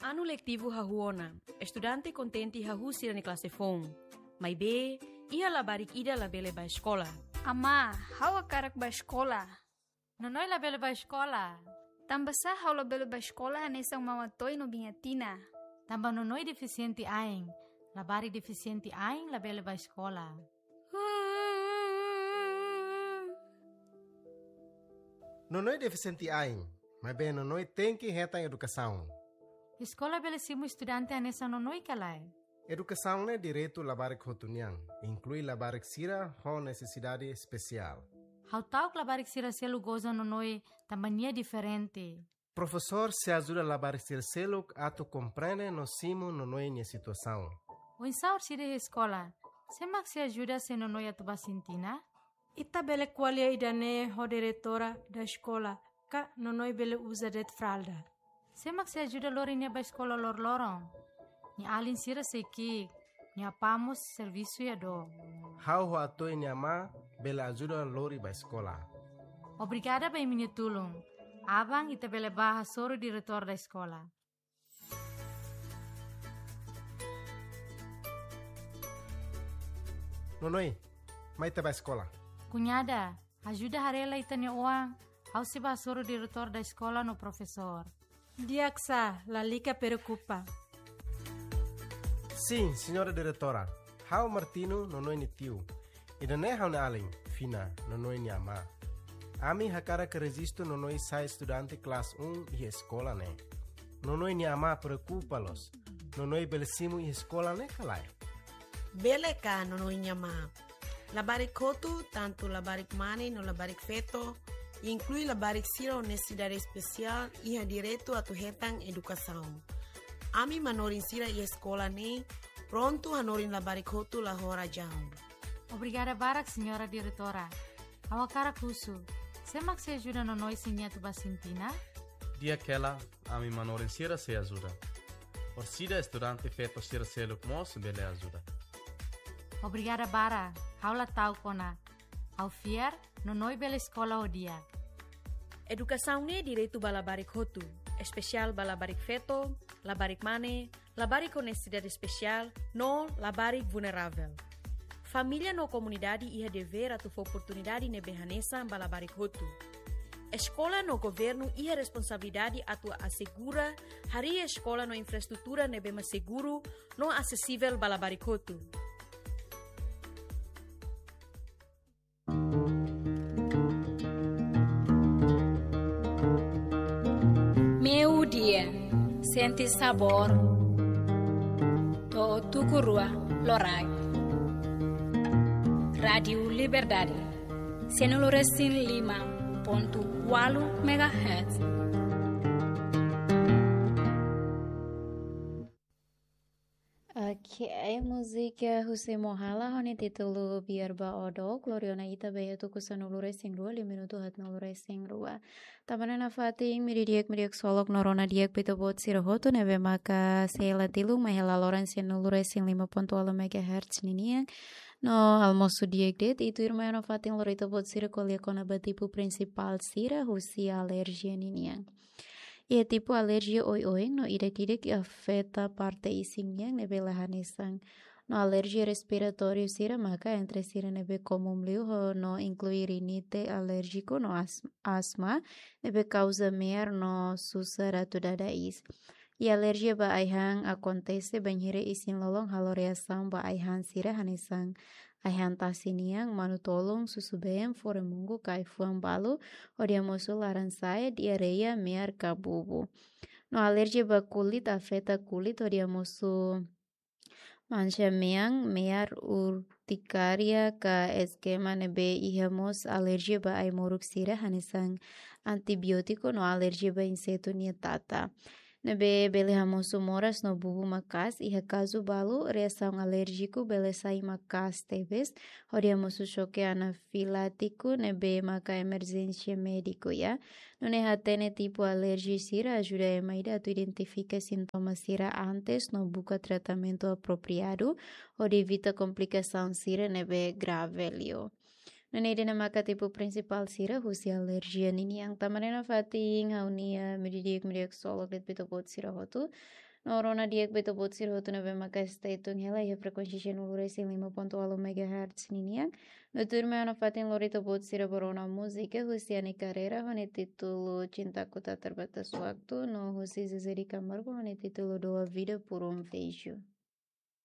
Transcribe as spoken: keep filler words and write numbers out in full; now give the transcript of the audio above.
Anu letivu hahú ona, estudante kontente hahú sira-nia klase foun. Maibé, iha labarik ida labele bá eskola. Amá, ha'u hakarak bá eskola. Nonoi labele bá eskola. Tanbasá ha'u labele bá eskola hanesan Mama Toi no Biña Tina? Tanba Nonoi defisiente ain. Labarik defisiente ain labele bá eskola. Nonoi defisiente ain, maibé Nonoi tenke hetan edukasaun. Eskola bele simu estudante hanesan Nonoi ka lae? Edukasaun ne'e direitu labarik hotu nian, inklui labarik sira ho nesesidade espesiál. Ha'u ta'uk labarik sira seluk goza Nonoi tanba nia diferente. Profesór sei ajuda labarik sira seluk atu komprende no simu Nonoi nia situasaun. Oinsá orsida iha eskola? Sé mak sei ajuda se Nonoi atu bá sintina? Ita bele ko'alia ida-ne'e ho diretora da eskola, ka Nonoi bele uza de'it fralda. Sé mak sei ajuda lori nia bá eskola loroloron? Nia alin sira sei ki'ik, nia apá mós servisu iha dook. Ha'u ho Atoi nia amá bele ajuda lori bá eskola. Obrigada ba imi-nia tulun. Aban ita bele bá hasoru diretór da eskola. Nonoi, mai ita bá eskola. Kuñada, ajuda haree lai ita-nia oan, ha'u sei bá hasoru diretór da eskola no profesór. Di'ak sá, lalika preokupa. Sin, señora diretora. Ha'u Martino, Nonoi nia tiu. Ida-ne'e ha'u-nia alin, Fina, Nonoi nia amá. Ami hakarak rejistu Nonoi sai estudante klase un iha eskola ne'e. Nonoi nia amá preokupa loos. Nonoi bele simu iha eskola ne'e ka lae? Bele ka, Nonoi nia amá. Labarik hotu, tantu labarik mane no labarik feto, inklui labarik sira ho nesesidade espesiál, iha direitu atu hetan edukasaun. Ami manorin sira iha eskola ne'e prontu hanorin labarik hotu la ho razaun. Obrigada barak, señora diretora. Ha'u hakarak husu, sé mak sei ajuda Nonoi se nia atu bá sintina? Di'ak hela, ami manorin sira sei ajuda. Orsida estudante feto sira seluk mós bele ajuda. Obrigada barak, ha'u la ta'uk ona. Ha'u fiar, Nonoi bele eskola ho di'ak. Edukasaun ne'e direitu ba labarik hotu, espesiál ba labarik feto, labarik mane, labarik ho nesesidade espesiál, no labarik vulneravel. Família no komunidade iha devér atu fó oportunidade ne'ebé hanesan ba labarik hotu. Eskola no governu iha responsabilidade atu asegura harii eskola no infraestrutura ne'ebé mak seguru no asesivel ba labarik hotu. Meiudia, sente sabór to'o tuku rua loraik. Rádiu Liberdade, sanulu resin lima pontu ualu megahertz. Ok, múzika husi Mohala ho nia títulu Biar Ba O Dook, lori ona ita ba iha tuku sanulu resin rua, liu minutu haatnulu resin rua. Tanba ne'e nafatin, meio-dia di'ak, meio-dia di'ak, solok no rona di'ak ba ita-boot sira hotu ne'ebé maka sei hela tilun mai hela loron sanulu resin lima pontu ualu megahertz ninian. No almosu di'ak de'it, i tuirmai nafatin lori ita-boot sira ko'alia kona-ba tipu prinsipál sira husi alerjia ninian. Iha tipu alerjia oioin no ida-idak afeta parte isin nian ne'ebé la hanesan. No alerjia respiratóriu sira maka entre sira ne'ebé komún liu ho no inklui rinite alérjiku no as-, asma, ne'ebé kauza me'ar no susar atu dada iis. I alerjia ba ai-han akontese bainhira isin-lolon halo reasaun ba ai-han sira hanesan ai-han tasi nian, manu-tolun, susubeen, furemungu ka ai-fuan balu, hodi hamosu laran-sa'e, diarreia, me'ar ka bubu. No alerjia ba kulit afeta kulit hodi hamosu manxa mean, me'ar, urtikária ka eskema, ne'ebé iha mós alerjia ba ai-moruk sira hanesan antibiótiku no alerjia ba insetu nia tata. Ne'ebé bele hamosu moras no bubu maka'as, iha kazu balu, reasaun alérjiku bele sai maka'as tebes, hodi hamosu xoke anafilátiku ne'ebé maka emerjénsia médiku, ya. Nune'e hatene tipu alerjia sira ajuda ema ida atu identifika sintoma sira antes no buka tratamentu apropriadu, hodi evita komplikasaun sira ne'ebé grave liu. Nune'e ida-ne'e maka tipu prinsipál sira husi alerjia ninian. Tanba ne'e nafatin ha'u-nia meio-dia di'ak, meio-dia di'ak, solok de'it ba ita-boot sira hotu. No rona di'ak ba ita-boot sira hotu ne'ebé maka stay tune hela iha frekuénsia cento e um resin lima ponto oito megahertz ninian. No tuirmai ha'u nafatin lori ita-boot sira ba rona múzika husi Ani Carreira ho nia títulu Cintaku Tak Terbatas Waktu, no husi Zezé de Camargo ho nia títulu Dou a Vida por um Beijo.